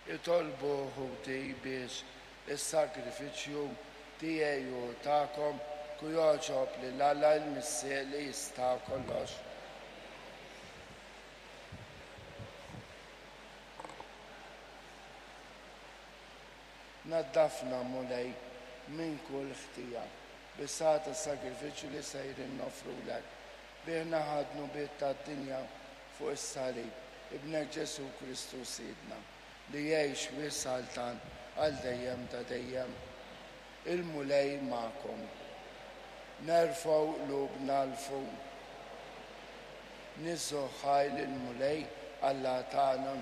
Itolbu, ħuti, biex is-sagrifiċċju tiegħi u tagħkom ku jogħġob lil Alla l-Missier li jista' kollox. Naddafna, Mulej, minn kull ħtija, bis-saħħa tas-sagrifiċċju li sejrin noffrulek. Bih neħħa d-dnubiet tad-dinja fuq is-salib, Ibnek Ġesù Kristu Sidna, li jgħix u jissaltan għal dejjem ta' dejjem. Il-Mulej magħkom. Nerfgħu qlubna 'l fuq. Niżżu ħaj lill-Mulej Alla tagħna.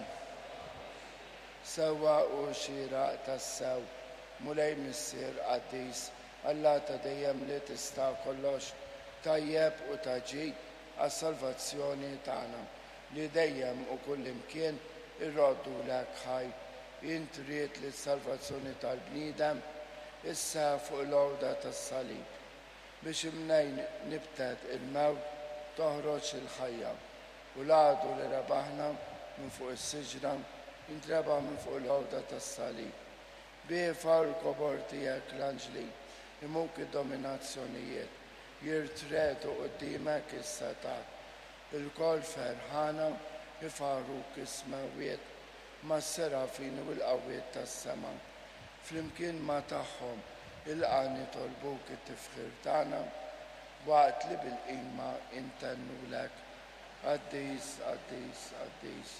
Sewwa u xieraq tassew, Mulej Missier qaddis, Alla ta' dejjem li tista' kollox, tajjeb u ta' ġid għas-salvazzjoni tagħna, li dejjem u kullimkien irroddulek ħaj. Int ridt li s-salvazzjoni tal-bniedem isseħħ fuq il-għuda tas-salib, biex imnejn nibtet il-mewt toħroġ il-ħajja, u l-għadu li rebaħna minn fuq is-siġra jintrebaħ minn fuq il-għuda tas-salib. Biefa u l-kobor tiegħek l-anġli jmuk id-dominazzjonijiet, jirtregħdu quddiemek is-setgħat. Ilkoll ferħana jfaħħruk is-smewwiet mas-serafini u l-qawwiet tas-sema. Flimkien ma' tagħhom ilqa' nitolbuk it-tifħir tagħna waqt li bil-qima intennulek, Qaddis, qaddis, qaddis.